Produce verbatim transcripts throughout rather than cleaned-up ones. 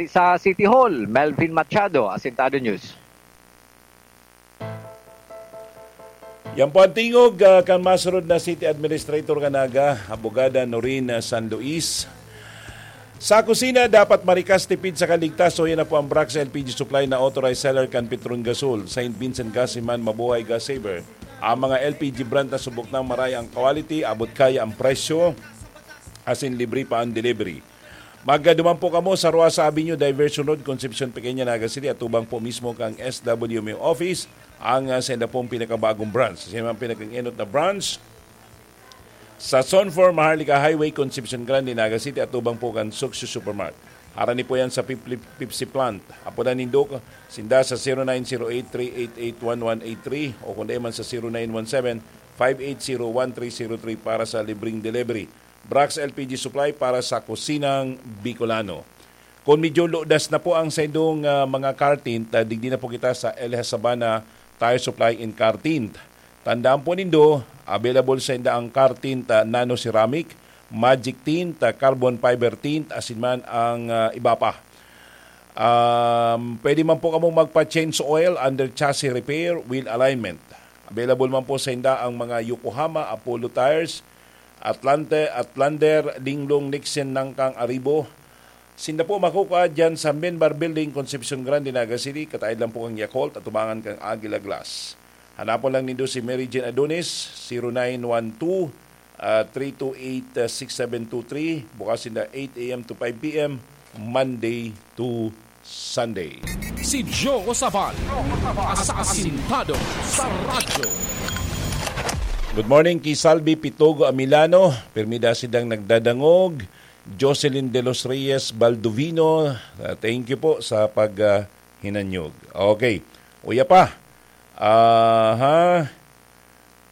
Sa City Hall, Melvin Machado, Asintado News. Yan po ang tingog, ah, kan masunod na City Administrator kan Naga, Abogada Noreen San Luis. Sa kusina, dapat marikas, tipid sa kaligtas. So, yan na po ang Brax L P G Supply na authorized seller kan Petron Gasol, Saint Vincent Gas, Iman, Mabuhay Gas Saver. Ang mga L P G brand na subok nang maray ang quality, abot kaya ang presyo, asin libre pa ang delivery. Magduman po kamo sa Roasa Avenue, Diversion Road, Concepcion Pequeña, Naga City, atubang po mismo kan S W M O office, ang, ah, senda pong pinakabagong branch. Sa mga pinakaenot na branch, sa Zone four Maharlika Highway, Concepcion Grande, Naga City, atubang po kan Suksyo Supermart. Harani po yan sa Pip-, Pepsi Plant. Apodan nindo sinda sa zero nine zero eight three eight eight one one eight three o kung di man sa zero nine one seven five eight zero one three zero three para sa libreng delivery. Brax L P G Supply para sa kusinang Bicolano. Kung medyo ludas na po ang saindong, ah, mga car tint, ah, digdi na po kita sa Elha Sabana Tire Supply in Car Tint. Tandaan po nindo, available sa inda ang car tint, ah, nano ceramic, magic tint, ah, carbon fiber tint, asin man ang, ah, iba pa. Um, pwede man po kamong magpa-change oil, under chassis repair, wheel alignment. Available man po sa inda ang mga Yokohama, Apollo tires, Atlante, Atlander, Linglong, Nixon, Nangkang, Aribo. Sinda po makukuha dyan sa Menbar Building, Concepcion Grande, Naga City. Kataid lang po kan Yakult, atubangan kan Aguila Glass. Hanapon lang nindo si Mary Jane Adonis, zero nine one two, ah, three two eight, ah, six seven two three. Bukas sinda eight a m to five p m, Monday to Sunday. Si Joe Sabal, asasintado sa radyo. Good morning ki Salvi Pitogo Amilano. Pirmi da sidang nagdadangog. Jocelyn De Los Reyes Baldovino, ah, thank you po sa pag, ah, hinanyog. Okay. Uya pa. Aha.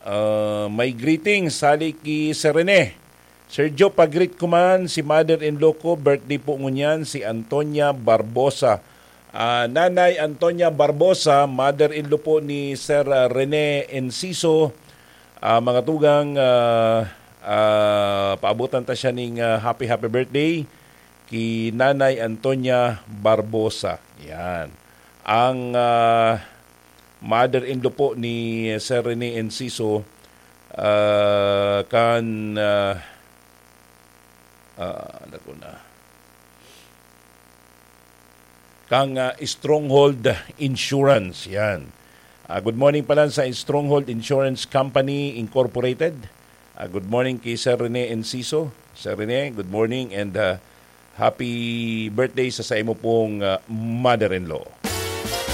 Ah, may greetings, hali ki Sir Rene. Sir Joe, pag-greet ko man si mother-in-law ko, birthday po ngunyan, si Antonia Barbosa. Ah, Nanay Antonia Barbosa, mother-in-law po ni Sir, ah, Rene Enciso. Ah, mga tugang, ah, ah, paabutan ta siya ning, ah, happy, happy birthday ki Nanay Antonia Barbosa. Yan. Ang, ah, mother-in-law po ni Sir Rene Enciso, ah, kan, ah, ah, ano to na? Kang, ah, Stronghold Insurance. Yan. Ah, good morning pala sa Stronghold Insurance Company Incorporated. Ah, good morning kay Sir Rene Enciso. Sir Rene, good morning and, ah, happy birthday sa, sa imo pong, ah, mother-in-law.